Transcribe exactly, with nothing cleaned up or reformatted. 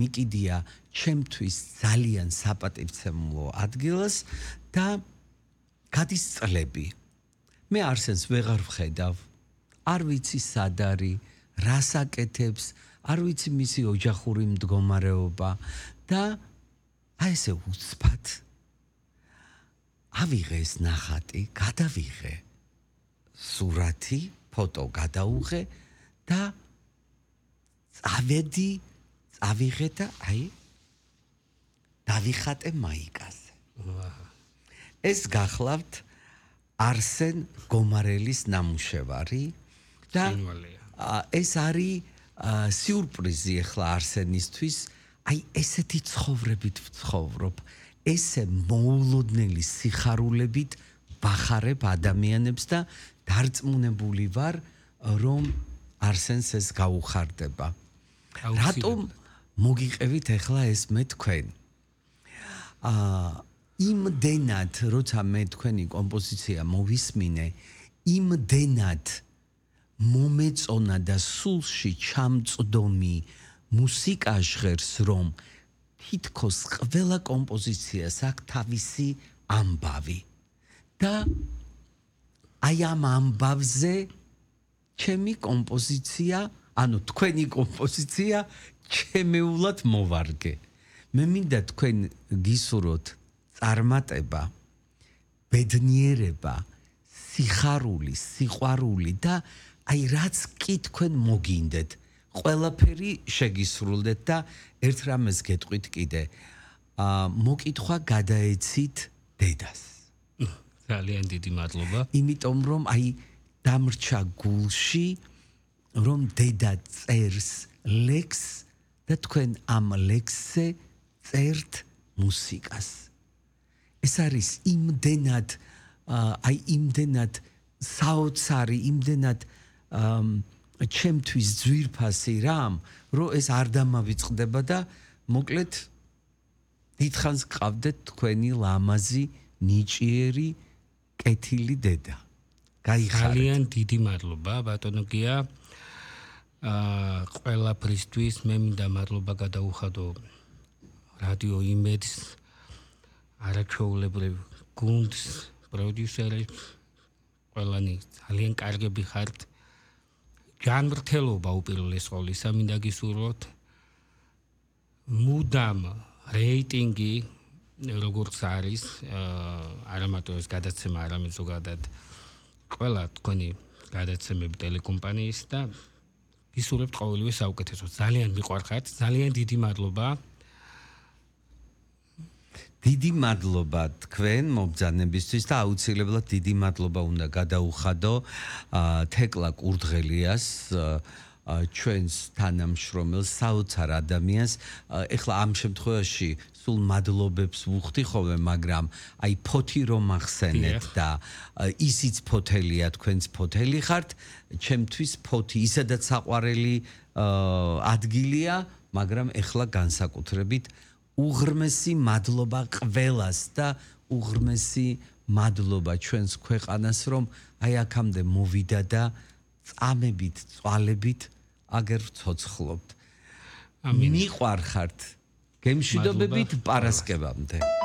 მიკიდია ჩემთვის ძალიან საპატივცემულო ადგილას და გადის წლები. მე არსენს ვეღარ ვხედავ, არ ვიცი სად არის, რას აკეთებს, არ ვიცი მისი ოჯახური მდგომარეობა და აი ესე უცბად ავიღე ეს ნახატი, გადავიღე სურათი, ფოტო გადაუღე და წავედი, წავიღე და აი დავიხატე მაიკაზე. ეს გახლავთ არსენ გომარელის ნამუშევარი და ეს არის სიურპრიზი ახლა არსენისთვის, აი ესეთი ცხოვრებით ვცხოვრობ, ესე მოულოდნელი სიხარულებით ვახარებ ადამიანებს და დარწმუნებული ვარ, რომ არსენს ეს გაუხარდება. რატომ მოგიყევით ახლა ეს მე თქვენ? აა იმდენად, როცა მე თქვენი კომპოზიცია მოვისმინე, იმდენად მომეწონა და სულში ჩამწდომი მუსიკა ჟღერს, რომ თითქოს ყველა კომპოზიციას აქვს თავისი ამბავი. და აი ამ ამბავზე ჩემი კომპოზიცია, ანუ თქვენი კომპოზიცია ჩემეულად მოვარგე. მე მინდა თქვენ გისურვოთ წარმატება, ბედნიერება, სიხარული, სიყვარული და აი რაც კი თქვენ მოგინდეთ, ყველაფერი შეგისრულდეთ და ერთ რამეს გეტყვით კიდე, აა მოკითხვა გადაეცით დედას. ძალიან დიდი მადლობა. იმიტომ რომ აი დამრჩა გულში, რომ დედა წერს ლექსს და თქვენ ამ ლექსზე წერთ მუსიკას. ეს არის იმდენად აი იმდენად საოცარი, იმდენად ჩემთვის ძვირფასი რამ, რომ ეს არ დამავიწყდება და მოკლედ დიდხანს გყავდეთ თქვენი ლამაზი, ნიჭიერი, კეთილი დედა. გაიხარეთ. ძალიან დიდი მადლობა, ბატონო გია. აა ყველაფრისთვის მე მინდა მადლობა გადაუხადო რადიო იმედს, არაჩვეულებრივ გუნდს, პროდიუსერებს, ყველანი ძალიან კარგები ხართ. ჯანმრთელობა უპირველეს ყოვლისა მინდა გისურვოთ. მუდამ რეიტინგი როგორც არის, არა მარტო ეს გადაცემა, არამედ ზოგადად ყველა თქვენი გადაცემები ტელეკომპანიის და გისურვებთ ყოველივე საუკეთესოს. ძალიან მიყვარხართ, ძალიან დიდი მადლობა. დიდი მადლობა თქვენ მობრძანებისთვის და აუცილებლად დიდი მადლობა უნდა გადაუხადო თეკლა კურდღელიას, ჩვენს თანამშრომელს, საოცარ ადამიანს. ეხლა ამ შემთხვევაში სულ მადლობებს ვუხდი ხოლმე, მაგრამ აი ფოთი რომ ახსენეთ და ისიც ფოთელია, თქვენც ფოთელი ხართ, ჩემთვის ფოთი ისედაც საყვარელი ადგილია, მაგრამ ეხლა განსაკუთრებით უღრმესი მადლობა ყველას და უღრმესი მადლობა ჩვენს ქვეყანას, რომ აი აქამდე მოვიდა და წამებით, წვალებით აგერ ცოცხლობთ. მიყვარხართ. გემშვიდობებით პარასკევამდე.